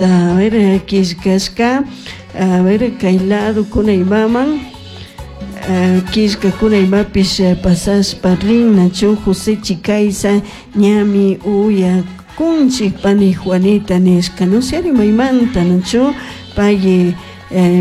A ver, killkashka, a ver, kay ladokuna imaman killkakuna imapish pasashpa rin nachu José Chicaiza ñami uyakunchik pani Juanita nishka no sé maymanta nachu pay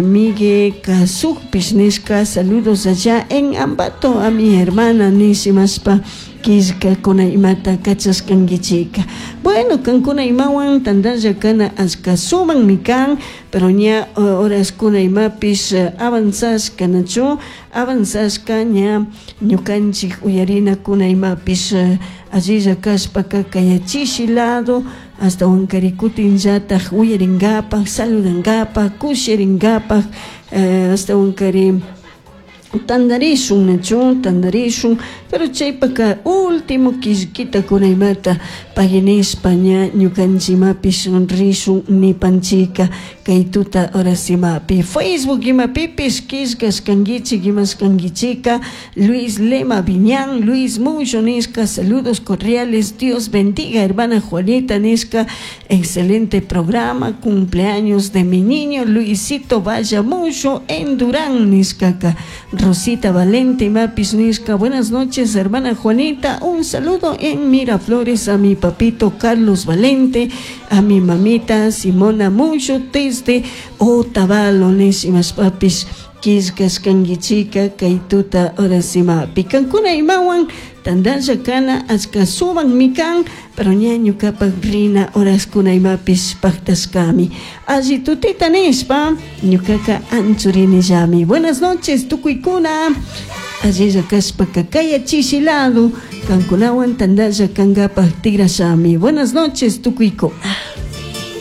Miguel Kasukpish nishka saludos allá en Ambato a mi hermana nishimashpa killkakuna imata kachashkankichika. Bueno, kankuna imawan tantalla kana ashka sumakmi kan, pero ña horaskuna imapish avanzashka nachu avanzashka ña ñukanchik uyarinakuna imapish allilla kashpaka kayachishi lado ashtawankari kutinllatak uyarinkapak saludankapak kushirinkapak ashtawankari tantarishun nachu tantarishun pero chaypaka último killkita kuna imata paginishpa ña ñukanchik imapish rishun nipanchika kay tuta horas imapi Facebook imapipish killkashkankichik imashkankichika Luis Lema Viñán Luis Mucho nishka saludos cordiales Dios bendiga hermana Juanita nishka excelente programa cumpleaños de mi niño Luisito Vaya Mucho en Durán nishkaka Rosita Valente imapish nishka buenas noches hermana Juanita un saludo en Miraflores a mi papito Carlos Valente a mi mamita Simona Mucho desde Otavalo nishimashpapish killkashkankichika kay tuta horas imapi kankuna imawan tantalla kana achka sumakmi kan pero ña ñukapak rina horaskuna imapish paktashkami alli tutita nishpa ñukaka anchurinillami buenas noches tukuykuna allilla kashpaka kayachishi lado kankunawan tantalla kankapak tigrashami buenas noches tukuykuna.